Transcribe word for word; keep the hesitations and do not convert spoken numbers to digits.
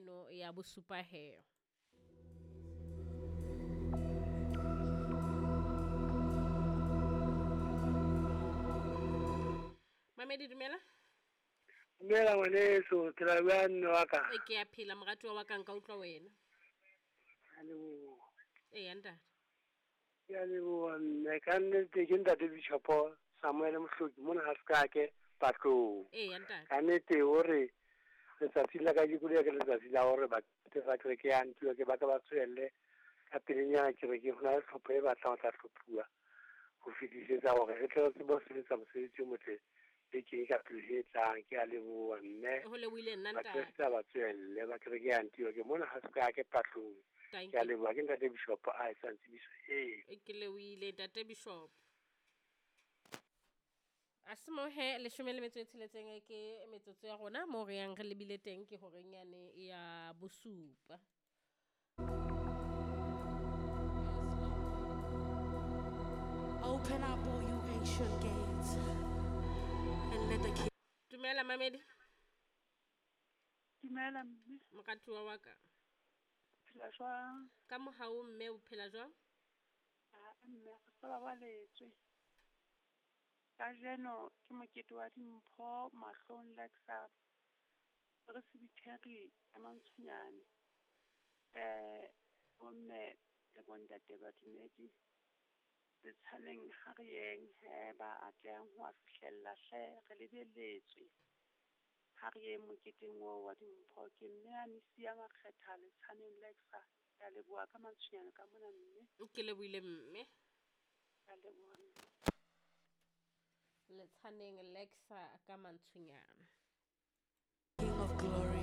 eno ya bosupa he. Mamedi dumela. Dumela ngwaneso, ke la bua mme wa ka. E ke a phela moratuwa wa ka, nka utlwa wena. Ke a leboha. Eya ntate. Ke a leboha mme, ka nnete ke ntate Bishopo Samuel Mohloki mona ha Sekake Patlong. Eya ntate. Ka nnete hore letsatsi la kajeko le ke letsatsi la hore Bakreste ba kereke ya Antioke ba ka ba tswelle ka pelenyana kerekeng, ho na le tlhopho e batlang ho tla hlophuwa ho fetisetsa hore re tle re tsebe ho sebetsa mosebetsi o motle bekeng e ka pele e tlang. Ke a leboha mme. Ho lebohile nna ntate. Bakreste ba tswelle ba kereke ya Antioke mona ha Sekake Patlong. Thank Ke a you. leboha, ke ntate Bishop a etsang tsebiso eo. E ke lebohile ntate Bishop. A se mo he leshome le metso e tsheletseng e ke metsotso ya rona moo re yang re lebile teng ke horeng yane ya bosupa. Open up all you ancient gates and let the king. Dumela mamedi. Dumela mme. Moratuwa wa ka. Phela jwang? Ka mohau mme o phela jwang? Ah, mme re sa babaletswe. Kajeno ke mokete wa dimpho mahlong Lexa Presbytery ya Mantsonyane. Eh, bomme le bontate badumedi letshaneng ha re yeng he ba atlehang ho a fihlella hle re lebelletswe. Ha re yeng moketeng oo wa dimpho ke mme a Nisia Makgetha letshaneng Lexa. Ke a leboha ka Mantsonyane ka mona mme. Ke lebohile mme. Ke a leboha mme. Letshaneng Lexa ka Mantsonyane. King of glory.